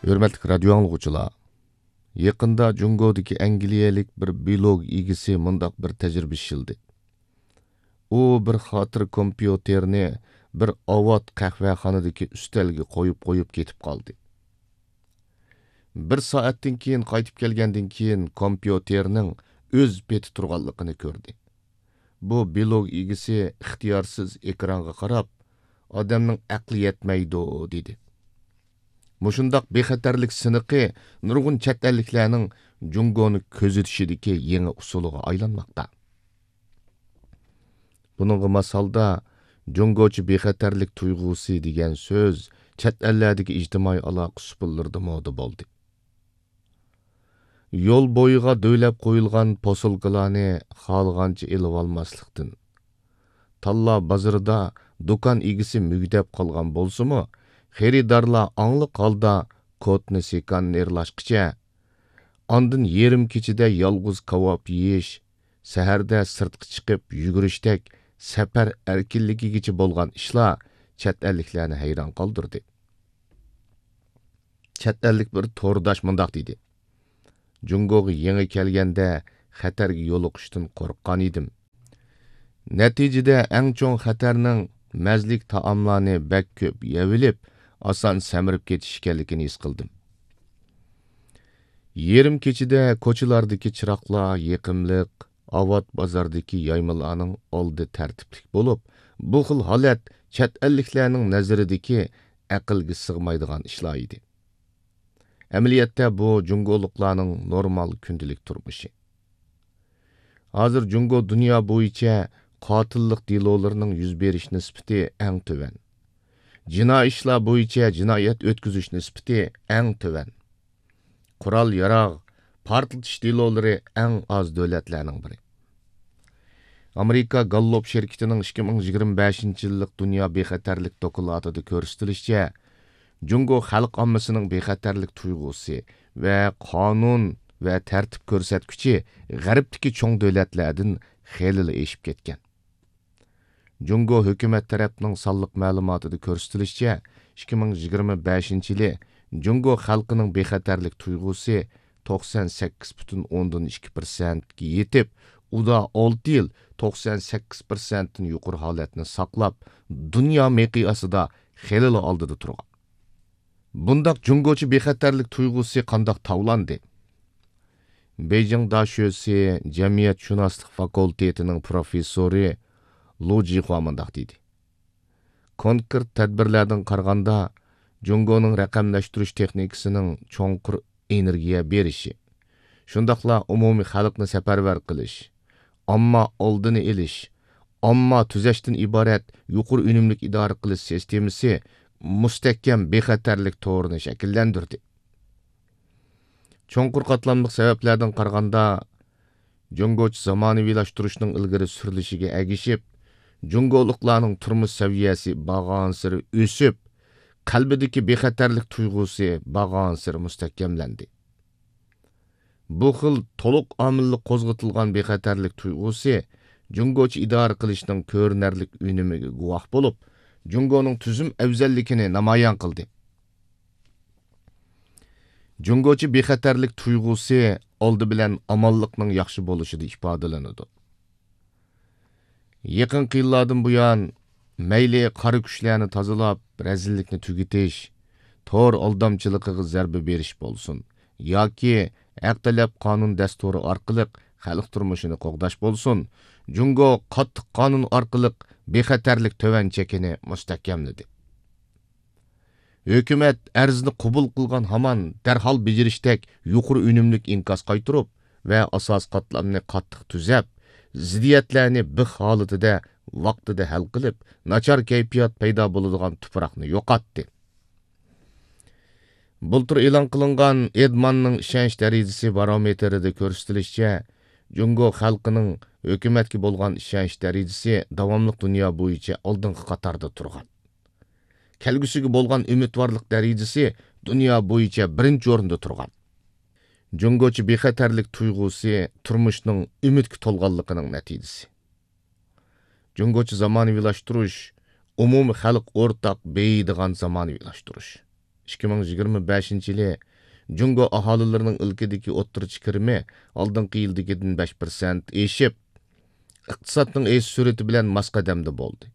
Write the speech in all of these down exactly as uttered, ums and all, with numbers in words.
ھۆرمەتلىك رادىيو ئاڭلىغۇچىلار، يېقىندا جۇڭگودىكى ئەنگلىيەلىك بىر بىلوگ ئىگىسى مۇنداق بىر تەجرىبە ئىشلىدى. ئۇ بىر خاتىرە كومپيۇتېرنى بىر ئاۋات قەھۋەخانىدىكى ئۈستەلگە قويۇپ قويۇپ كېتىپ قالدى. بىر سائەتتىن كېيىن قايتىپ كەلگەندىن كېيىن، كومپيۇتېرنىڭ ئۆز پېتى تۇرغانلىقىنى كۆردى. بۇ بىلوگ ئىگىسى ئىختىيارسىز ئېكرانغا قاراپ، «ئادەمنىڭ ئەقلى يەتمەيدۇ» دېدى. مۇشۇنداق بىخەتەرلىك سىنىقى نۇرغۇن چەت ئەللىكلەرنىڭ جۇڭگونى كۆزىتىشىدىكى يېڭى ئۇسۇلىغا ئايلانماقتا. بۇنىڭغا ماس ھالدا، جۇڭگوچە بىخەتەرلىك تۇيغۇسى دېگەن سۆز چەت ئەللەردىكى ئىجتىمائىي ئالاقە سۇپىلىرىدا مودا بولدى. يول بويىغا دۆۋىلەپ قويۇلغان پوسۇلكىلارنى خالىغانچە ئېلىۋالماسلىقتىن، تاللا بازىرىدا دۇكان ئىگىسى مۈگدەپ قالغان بولسىمۇ، خېرىدارلار ئاڭلىق ھالدا كوتنى سىكانېرلاشقىچە، ئاندىن يېرىم كېچىدە يالغۇز كاۋاپ يېيىش، سەھەردە سىرتقا چىقىپ يۈگۈرۈشتەك سەپەر ئەركىنلىكىگىچە بولغان ئىشلار چەت ئەللىكلەرنى ھەيران قالدۇردى. چەت ئەللىك بىر تورداش مۇنداق دېدى: «جۇڭگوغا يېڭى كەلگەندە خەتەرگە يولۇقۇشتىن قورققان ئىدىم. نەتىجىدە ئەڭ چوڭ خەتەرنىڭ مەززىلىك تائاملارنى بەك كۆپ يەۋېلىپ، ئاسان سەمرىپ كېتىش ئىكەنلىكىنى ھېس قىلدىم.» يېرىم كېچىدە كوچىلاردىكى چىراغلار يېقىملىق، ئاۋات بازاردىكى يايمىلارنىڭ ئالدى تەرتىپلىك بولۇپ، بۇ خىل ھالەت چەت ئەللىكلەرنىڭ نەزىرىدىكى ئەقىلگە سىغمايدىغان ئىشلار ئىدى. ئەمەلىيەتتە بۇ جۇڭگولۇقلارنىڭ نورمال كۈندىلىك تۇرمۇشى. ھازىر جۇڭگو دۇنيا بويىچە قاتىللىق دېلولىرىنىڭ يۈز بېرىش نىسبىتى ئەڭ تۆۋەن. جىنايى ئىشلار بويىچە جىنايەت ئۆتكۈزۈش نىسبىتى ئەڭ تۆۋەن. قورال-ياراغ، پارتلىتىش دېلولىرى ئەڭ ئاز دۆلەتلەرنىڭ بىرى. ئامېرىكا گاللوپ شىركىتىنىڭ ئىككى مىڭ يىگىرمە بەشىنچى يىللىق دۇنيا بىخەتەرلىك دوكلاتىدا كۆرسىتىلىشىچە، جۇڭگو خەلق ئاممىسىنىڭ بىخەتەرلىك تۇيغۇسى ۋە قانۇن ۋە تەرتىپ كۆرسەتكۈچى غەربتىكى چوڭ دۆلەتلەردىن خېلىلا ئېشىپ كەتكەن. جۇڭگو ھۆكۈمەت تەرەپنىڭ سانلىق مەلۇماتىدا كۆرسىتىلىشىچە، ئىككى مىڭ يىگىرمە بەشىنچى يىلى جۇڭگو خەلقىنىڭ بىخەتەرلىك تۇيغۇسى توقسان سەككىز پۈتۈن ئوندىن ئىككى پىرسەنتكە يېتىپ، ئۇدا ئالتە يىل توقسان سەككىز پىرسەنتتىن يۇقىرى ھالەتنى ساقلاپ، دۇنيا مىقياسىدا خېلىلا ئالدىدا تۇرغان. بۇنداق جۇڭگوچە بىخەتەرلىك تۇيغۇسى قانداق تاۋلاندى؟ بېيجىڭ داشۆسى جەمئىيەتشۇناسلىق فاكۇلتېتىنىڭ پروفېسسورى لۇ جىخۇا مۇنداق دېدى: «كونكرېت تەدبىرلەردىن قارىغاندا، جۇڭگونىڭ رەقەملەشتۈرۈش تېخنىكىسىنىڭ چوڭقۇر ئېنېرگىيە بېرىشى، شۇنداقلا ئومۇمىي خەلقنى سەپەرۋەر قىلىش، ئامما ئالدىنى ئېلىش، ئامما تۈزەشتىن ئىبارەت يۇقىرى ئۈنۈملۈك ئىدارە قىلىش سىستېمىسى مۇستەھكەم بىخەتەرلىك تورىنى شەكىللەندۈردى.» چوڭقۇر قاتلاملىق سەۋەبلەردىن قارىغاندا، جۇڭگوچە زامانىۋىلاشتۇرۇشنىڭ ئىلگىرى سۈرۈلۈشىگە ئەگىشىپ، جۇڭگولۇقلارنىڭ تۇرمۇش سەۋىيەسى بارغانسېرى ئۆسۈپ، قەلبىدىكى بىخەتەرلىك تۇيغۇسى بارغانسېرى مۇستەھكەملەندى. بۇ خىل تولۇق ئامىللىق قوزغىتىلغان بىخەتەرلىك تۇيغۇسى جۇڭگوچە ئىدارە قىلىشنىڭ كۆرۈنەرلىك ئۈنۈمىگە گۇۋاھ بولۇپ، جۇڭگونىڭ تۈزۈم ئەۋزەللىكىنى نامايان قىلدى. جۇڭگوچە بىخەتەرلىك تۇيغۇسى ئالدى بىلەن ئامانلىقنىڭ ياخشى بولۇشىدا ئىپادىلىنىدۇ. يېقىنقى يىللاردىن بۇيان، مەيلى قارا كۈچلەرنى تازىلاپ، رەزىللىكنى تۈگىتىش، تور ئالدامچىلىقىغا زەربە بېرىش بولسۇن ياكى ھەق تەلەپ قانۇن دەستۇرى ئارقىلىق خەلق تۇرمۇشىنى قوغداش بولسۇن، جۇڭگو قاتتىق قانۇن ئارقىلىق بىخەتەرلىك تۆۋەن چېكىنى مۇستەھكەملىدى. ھۆكۈمەت ئەرزنى قوبۇل قىلغان ھامان دەرھال بېجىرىشتەك يۇقىرى ئۈنۈملۈك ئىنكاس قايتۇرۇپ ۋە ئاساسىي قاتلامنى قاتتىق تۈزەپ، زىددىيەتلەرنى بىخ ھالىتىدە ۋاقتىدا ھەل قىلىپ، ناچار كەيپىيات پەيدا بولىدىغان تۇپراقنى يوقاتتى. بۇلتۇر ئېلان قىلىنغان ئېدماننىڭ ئىشەنچ دەرىجىسى بارومېتىرىدا كۆرسىتىلىشىچە، جۇڭگو خەلقىنىڭ ھۆكۈمەتكە بولغان ئىشەنچ دەرىجىسى داۋاملىق دۇنيا بويىچە ئالدىنقى قاتاردا تۇرغان. كەلگۈسىگە بولغان ئۈمىدۋارلىق دەرىجىسى دۇنيا بويىچە بىرىنچى ئورۇندا تۇرغان. جۇڭگوچە بىخەتەرلىك تۇيغۇسى تۇرمۇشنىڭ ئۈمىدكە تولغانلىقىنىڭ نەتىجىسى. جۇڭگوچە زامانىۋىلاشتۇرۇش، ئومۇمىي خەلق ئورتاق بېيىيدىغان زامانىۋىلاشتۇرۇش. ئىككى مىڭ يىگىرمە بەشىنچى يىلى جۇڭگو ئاھالىلىرىنىڭ ئىلكىدىكى ئوتتۇرىچە كىرىمى ئالدىنقى يىلدىكىدىن بەش پىرسەنت ئېشىپ، ئىقتىسادنىڭ ئېشىش سۈرئىتى بىلەن ماس قەدەمدە بولدى.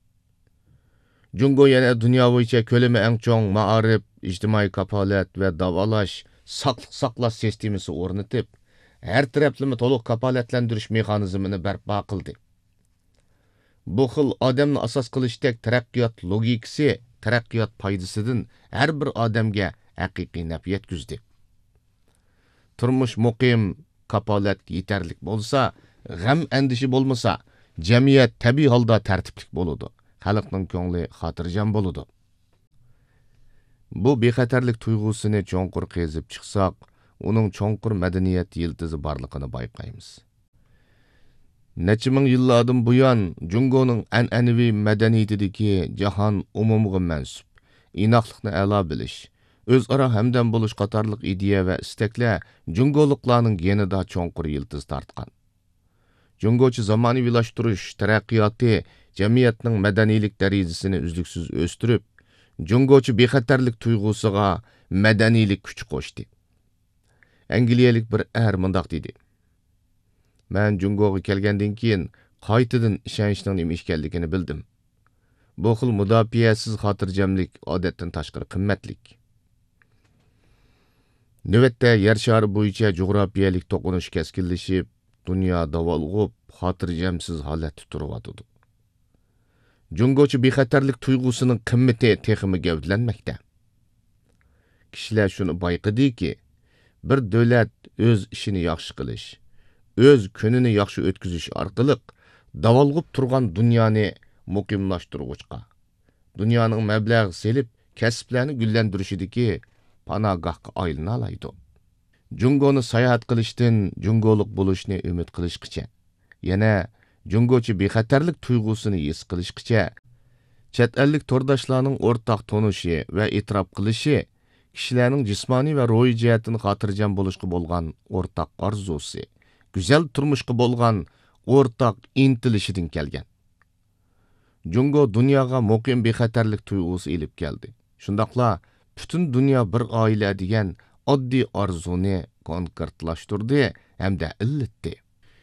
جۇڭگو يەنە دۇنيا بويىچە كۆلىمى ئەڭ چوڭ مائارىپ، ئىجتىمائىي كاپالەت ۋە داۋالاش، ساقلىق ساقلاش سىستېمىسى ئورنىتىپ، ھەر تەرەپلىمە تولۇق كاپالەتلەندۈرۈش مېخانىزمىنى بەرپا قىلدى. بۇ خىل ئادەمنى ئاساس قىلىشتەك تەرەققىيات لوگىكىسى تەرەققىيات پايدىسىدىن ھەر بىر ئادەمگە ھەقىقىي نەپ يەتكۈزدى. تۇرمۇش مۇقىم، كاپالەت يېتەرلىك بولسا، غەم-ئەندىشە بولمىسا، جەمئىيەت تەبىئىي ھالدا تەرتىپلىك بولىدۇ، خەلقنىڭ كۆڭلى خاتىرجەم بولىدۇ. بۇ بىخەتەرلىك تۇيغۇسىنى چوڭقۇر قېزىپ چىقساق، ئۇنىڭ چوڭقۇر مەدەنىيەت يىلتىزى بارلىقىنى بايقايمىز. نەچچە مىڭ يىللاردىن بۇيان جۇڭگونىڭ ئەنئەنىۋى مەدەنىيىتىدىكى جاھان ئومۇمىغا مەنسۇپ، ئىناقلىقنى ئەلا بىلىش، ئۆزئارا ھەمدەم بولۇش قاتارلىق ئىدىيە ۋە ئىستەكلەر جۇڭگولۇقلارنىڭ گېنىدا چوڭقۇر يىلتىز تارتقان. جۇڭگوچە زامانىۋىلاشتۇرۇش تەرەققىياتى جەمئىيەتنىڭ مەدەنىيلىك دەرىجىسىنى ئۈزلۈكسىز ئۆستۈرۈپ، جۇڭگوچە بىخەتەرلىك تۇيغۇسىغا مەدەنىيلىك كۈچ قوشتى. ئەنگلىيەلىك بىر ئەر مۇنداق دېدى: مەن جۇڭگوغا كەلگەندىن كېيىن، قايتىدىن ئىشەنچنىڭ نېمە ئىكەنلىكىنى بىلدىم. بۇ خىل مۇداپىئەسىز خاتىرجەملىك ئادەتتىن تاشقىرى قىممەتلىك. نۆۋەتتە يەر شارى بويىچە جۇغراپىيەلىك توقۇنۇش كەسكىنلىشىپ، دۇنيا داۋالغۇپ، خاتىرجەمسىز ھالەتتە تۇرۇۋاتىدۇ. جۇڭگوچە بىخەتەرلىك تۇيغۇسىنىڭ قىممىتى تېخىمۇ گەۋدىلەنمەكتە. كىشىلەر شۇنى بايقىدىكى، بىر دۆلەت ئۆز ئىشىنى ياخشى قىلىش، ئۆز كۈنىنى ياخشى ئۆتكۈزۈش ئارقىلىق داۋالغۇپ تۇرغان دۇنيانى مۇقىملاشتۇرغۇچقا، دۇنيانىڭ مەبلەغ سېلىپ كەسىپلەرنى گۈللەندۈرۈشىدىكى پاناھگاھقا ئايلىنالايدۇ. جۇڭگونى ساياھەت قىلىشتىن جۇڭگولۇق بولۇشنى ئۈمىد قىلىشقىچە، يەنە جۇڭگوچە بىخەتەرلىك تۇيغۇسىنى ھېس قىلىشقىچە، چەت ئەللىك تورداشلارنىڭ ئورتاق تونۇشى ۋە ئېتىراپ قىلىشى كىشىلەرنىڭ جىسمانىي ۋە روھىي جەھەتتىن خاتىرجەم بولۇشقا بولغان ئورتاق ئارزۇسى، گۈزەل تۇرمۇشقا بولغان ئورتاق ئىنتىلىشىدىن كەلگەن. جۇڭگو دۇنياغا مۇقىم بىخەتەرلىك تۇيغۇسى ئېلىپ كەلدى. شۇنداقلا پۈتۈن دۇنيا بىر ئائىلە دېگەن ئاددىي ئارزۇنى كونكرېتلاشتۇردى ھەمدە ئىللىتتى.